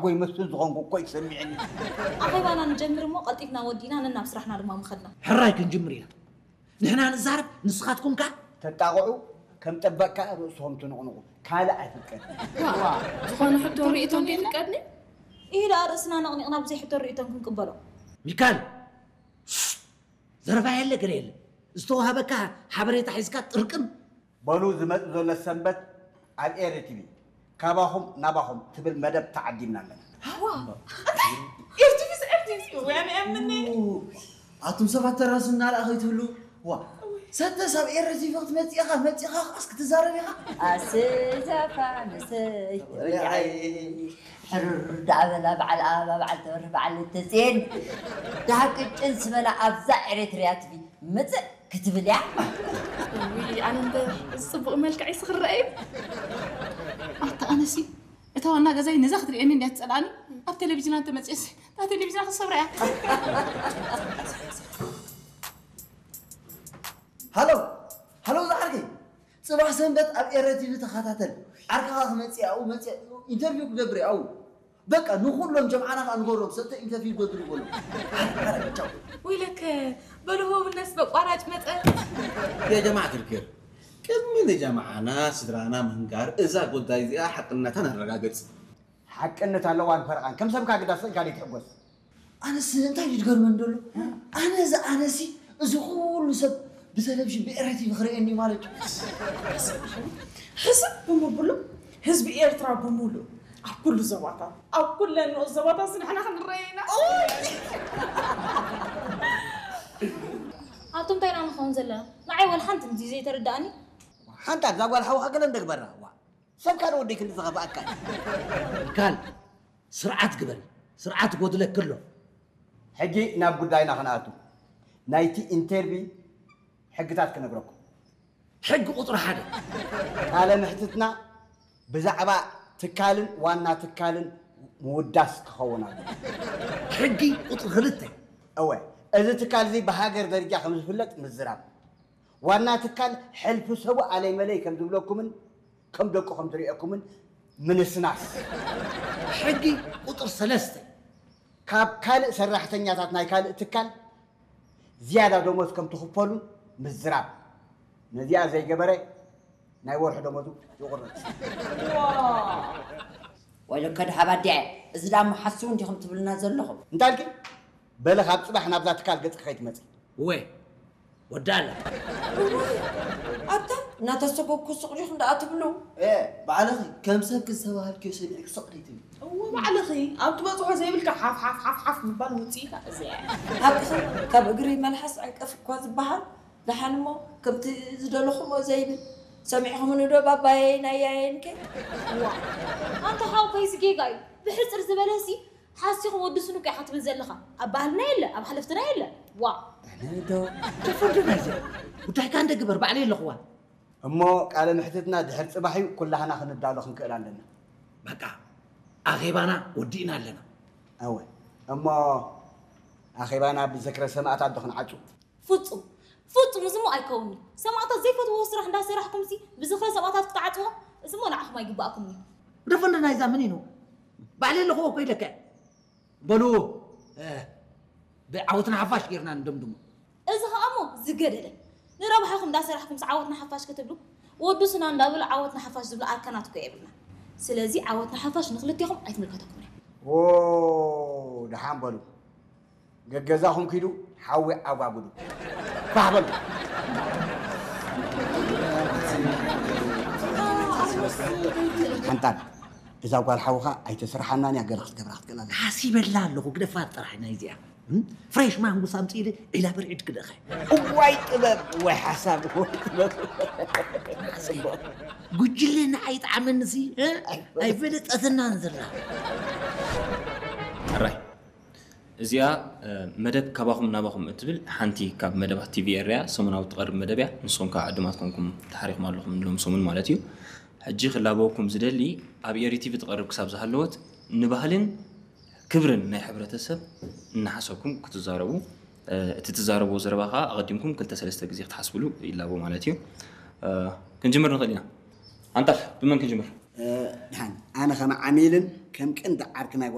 ጎይ መስል ዝኾንኩ እኮ ይሰሚዕኒ። ኣኼባና ንጀምር እሞ ቀልጢፍና ወዲእና ነናብ ስራሕና ድማ ምኸድና። ሕራይ ክንጅምር ኢና። ንሕና ንዛረብ፣ ንስኻትኩም ከ? ተጣቕዑ ከም ጠበቅካ ርእስኹም ትንቕንቑ ካልእ ኣይፍቀድ። ዝኾነ ሕቶ ርእይቶም ከይፍቀድኒ? ይህ ደኣ ርእስና ነቕኒቕና ብዘይ ሕቶ ርእይቶም ክንቅበሎ። ሚካል፣ ዘረባ የለ ገለ የለ። ዝተዋሃበካ ሓበሬታ ሒዝካ ጥርቅም። በሉ ዝመጽእ ዘሎ ሰንበት ኣብ ኤሪ ቲቪ ካባኹም ናባኹም ትብል መደብ ተዓዲምና ኣለና። ኤርቲቪስ ኤርቲቪስ ወያነ እምኒ ኣቱም ሰባት ተራሱ እናረኣ ከይትህሉ ዋ ሰተስ ኣብ ኤሪ ቲቪ ክትመፅእ ኢኻ መፂኻ ኻስ ክትዛረብ ኢኻ ኣሰይ ዛፋ ንሰይ ሕሩር ዳዕበላ በዓል ኣበባ በዓል ተበርህ በዓል ልተፅኤን ዳሃ ቅጭን ስበላ ኣብዛ ኤሬትርያ ቲቪ ምፅእ ክትብል እያ ውይ ኣነ እምበር እዚ ፅቡቕ መልክዕ ይስኽረአ እዩ ኣታ ኣነሲ እታ ዋና ገዛይ ነዛ ክትርእየኒ እንድያ ትፀልኣኒ ኣብ ቴሌቪዥና እንተመፅእስ እታ ቴሌቪዥና ክሰብራ እያ ሃሎ ሃሎ ዝዓርከይ ፅባሕ ሰንበት ኣብ ኤረ ቲቪ ተኸታተል ዓርክኻ ክመፅእ ኣብኡ መፅእ ኢንተርቪው ክገብር ኣብኡ በቃ ንኩሎም ጀምዓና ከዓ ንገሮም ሰተ ኢንተርቪው ክገብር ይበሉ ወይለከ በልሆ ብነስ በቋራጭ መጠን የጀማዕ ክርክር ቅድሚ ንጀማዓና ስድራና ምንጋር እዛ ጉዳይ እዚኣ ሓቅነታ ነረጋግፅ ሓቅነት ኣለዋን ፈረቓን ከም ሰብካ ግዳ ስእልካ ዘይትሕጎስ ኣነስ እንታይ እዩ ዝገርመን ዘሎ ኣነ እዚ ኣነሲ እዚ ኩሉ ሰብ ብቴሌቪዥን ብኤረ ቲቪ ክርእየኒ ማለት እዩ ሕስብ ብምብሉ ህዝቢ ኤርትራ ብምሉእ ኣብ ኩሉ ዞባታት ኣብ ኩለን ንኡስ ዞባታት ንሕና ክንረአ ኢና ኣቱም እንታይ ኢና ንኸውን ዘለና ንዓይ ወላ ሓንቲ ምዚ ዘይተረዳእኒ ሓንታ እዛ ጓል ሓውኻ ገለ እንደግበራ ዋ ሰብካ ዶ ወደይ ክንዲ ዝኸፍኣካ እዩ ሚካል ስርዓት ግበር ስርዓት ጎድለክ ኣሎ ሕጂ ናብ ጉዳይና ክንኣቱ ናይቲ ኢንተርቪ ሕግታት ክነግረኩም ሕጊ ቁፅሪ ሓደ ቃለ ምሕትትና ብዛዕባ ትካልን ዋና ትካልን ምውዳስ ክኸውን ኣሎ ሕጊ ቁፅሪ ክልተ እወ እዚ ትካል እዚ ብሃገር ደረጃ ከም ዝፍለጥ ምዝራብ ዋና ትካል ሕልፊ ሰቡ ኣለይ መለይ ከም ዝብለኩምን ከም ደቁ ከም ዝሪኦኩምን ምንስናስ ሕጊ ቁፅር ሰለስተ ካብ ካልእ ሰራሕተኛታት ናይ ካልእ ትካል ዝያዳ ደሞዝ ከም ትኽፈሉ ምዝራብ ነዚኣ ዘይገበረ ናይ ወርሒ ደሞዙ ይቑረፅ ወይለከ ድሓብ ኣዲዐ እዚ ዳሞ ሓስቡ እንዲኹም ትብልና ዘለኹም እንታልኪ በለ ካብ ፅባሕ ናብዛ ትካል ገፅኪ ከይትመፂ እወ ወዳ ኣላ ኣታ እናተሰጎግኩ ስቕ ዲኹም ደኣ ትብሉ ባዕልኺ ከም ሰብ ክዝተባሃልክዮ ሰሚዕኪ ስቕ ደይትብሊ እዎ ባዕልኺ ኣብ ትበፅሖ ዘይብልካ ሓፍ ሓፍ ሓፍ ሓፍ ምባል ውፅኢታ እዚኣ እያ ሓቅኺ ካብ እግሪ መልሓስ ዕንቀፍ እኳ ዝበሃል ደሓን እሞ ከምቲ ዝደለኹምዎ ዘይብል ሰሚዕኹምኒ ዶ ባባየይን ኣያየይን ከ ዋ ኣንታ ሓው ፈይሲ ጌጋ እዩ ብሕፅር ዝበለሲ ሓሲኹም ወዲ ስኑቅ ኢኻ ትብል ዘለኻ ኣብ ባህልና የለ ኣብ ሓለፍትና የለ ዋ ዶ ተፈርድና እዚ ጉዳይካ እንደ ግበር ባዕለይ ኣለኹዋ እሞ ቃለ ምሕትትና ድሕር ፅባሕ እዩ ኩላህና ክንዳሎ ክንክእል ኣለና በቃ ኣኼባና ወዲእና ኣለና እወ እሞ ኣኼባና ብዝክረ ሰማእታት ዶ ክንዓፁ ፍፁም ፍፁም እዚ እሞ ኣይከውንዩ ሰማእታት ዘይፈትዎ ስራሕ እንዳሰራሕኩም ሲ ብዝኽረ ሰማእታት ክትዓፅዎ እዚ እሞ ንዓኹም ኣይግባእኩም እዩ ደፈንዶ ናይዛ ምን ኢኑ ባዕለይ ኣለኹዎ እኮ ኢለካ በሉ ብዓወትና ሓፋሽ ጌርና ንደምድሞ እዚ ከዓ እሞ ዝገደደ ንረብሓኹም እንዳሰራሕኩም ዓወትና ሓፋሽ ክትብሉ ወዱ ስና እንዳበሉ ዓወትና ሓፋሽ ዝብሉ ኣርካናት እኮ የብልና ስለዚ ዓወትና ሓፋሽ ንክልቴኹም ኣይትምልከተኩም ዎ ደሓን በሉ ገገዛኹም ኪዱ ሓዊ ዓጓጉዱ ፋሕ በሉ ሓንታን እዛ ጓል ሓውኻ ኣይተስርሓናን እያ ገለ ክትገብራ ክትክእል ኣለ ሓሲበላ ኣለኹ ግደፋት ጥራሕ ናይ እዚኣ ፍሬሽ ማንጉስ ኣምፅኢለ ዒላ በርዒድ ክደኸ እዋይ ጥበብ ወይ ሓሳብ ወይ ጥበብ ጉጅለ ንዓይ ጣዕመንሲ ኣይፈለጠትናን ዘላ ሕራይ እዚኣ መደብ ካባኹም ናባኹም እትብል ሓንቲ ካብ መደባት ቲቪ ኤርያ ሰሙናዊ ትቐርብ መደብ እያ ንስኹም ከዓ ዕዱማት ኮንኩም ተሓሪኹም ኣለኹም ንሎም ሰሙን ማለት እዩ ሕጂ ክላበወኩም ዝደሊ ኣብ ኤሪ ቲቪ ትቐርብ ክሳብ ዝሃለወት ንባህልን ክብርን ናይ ሕብረተሰብ እናሓሰብኩም ክትዛረቡ እቲ ትዛረብዎ ዘረባ ከዓ ኣቐዲምኩም ክልተ ሰለስተ ግዜ ክትሓስብሉ ይላቦ ማለት እዩ ክንጅምር ንኽእል ኢና ኣንታ ብመን ክንጅምር ድሓን ኣነ ከመ ዓሚልን ከም ቀንዲ ዓርኪ ናይ